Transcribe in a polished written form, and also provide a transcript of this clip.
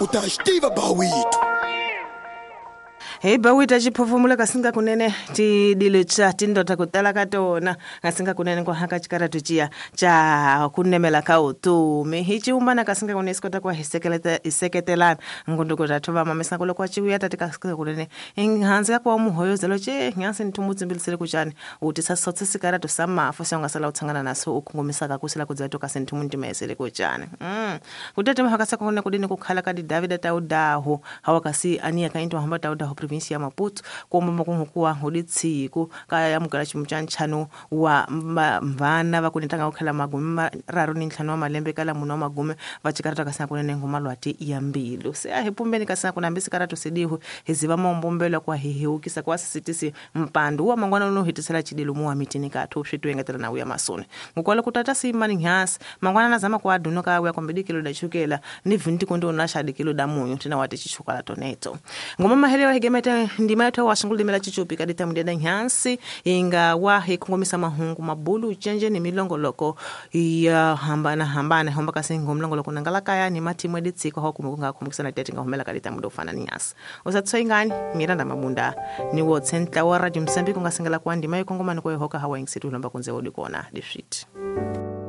U ta xi tiva bawito. Hi bawita xiphofomula kasi nga kunene tidilo cha tindota ku tala ka tona kasi nga kunene ku haka xikaratu ciya cha ku nemela ka vutomi hi ciumbana kasi nga kunene si kota ku va hi hi seketelana ngunduku ta thova mamisa ku loko wa civuya tati kasi nga kunene hansi ka ku wa muhoyozelo ce nyansi ni thumu tsimbilisele ku cani u tisa sotse sikaratu sa mafu se u nga sala u tshangana naso u kungumisaka ku sila ku dza to kasi ni thumu ntimayisele ku cani kutete mhaka sa kona kudini ku khala ka didavida ta udahu hawa kasi aniya ka into hamba ta udahu province ya Maputo komba makungukuwa hodi tsiku ka ya mugala ximu xa ntlhanu wa vana va kunetanga ku khala magume mararu ni ntlhanu wa malembe kala munhu wa magume va cikarata kasi kunene ngoma lwati ya mbilu se a hi pumbeni kasi kuna hambi sikaratu sedihu hi ziva maombombelo kwa hi hiwukisa kwa sisitisi mpandu wa mangwana no hitisela chidilo mu wa mitini kathu swi tuengetela na uya masoni ngukwalo kutata simani nyasi mangwana na zama kwa duno ka uya kombedi kilo da chukela ni 20 kondo na shadi kilo da munyu tena wati chichukala toneto ngoma mahelewa higemete ndima yetu wa shunguli mela chichupi kadita mudeda nyansi inga wa hikungomisa mahungu mabulu chenje ni milongoloko ya hambana hambana homba kasi ngomlongoloko nangala kaya ni matimu editsiko ho kumukunga kumukisana tete ngahomela kadita mudo fana ni nyasi usatsoingani Miranda Mabunda ni wo tsentla wa Radio Msambiki kungasengela kwa ndima yikongomani kwa hoka hawa ingisitu lomba kunze odi kona difit.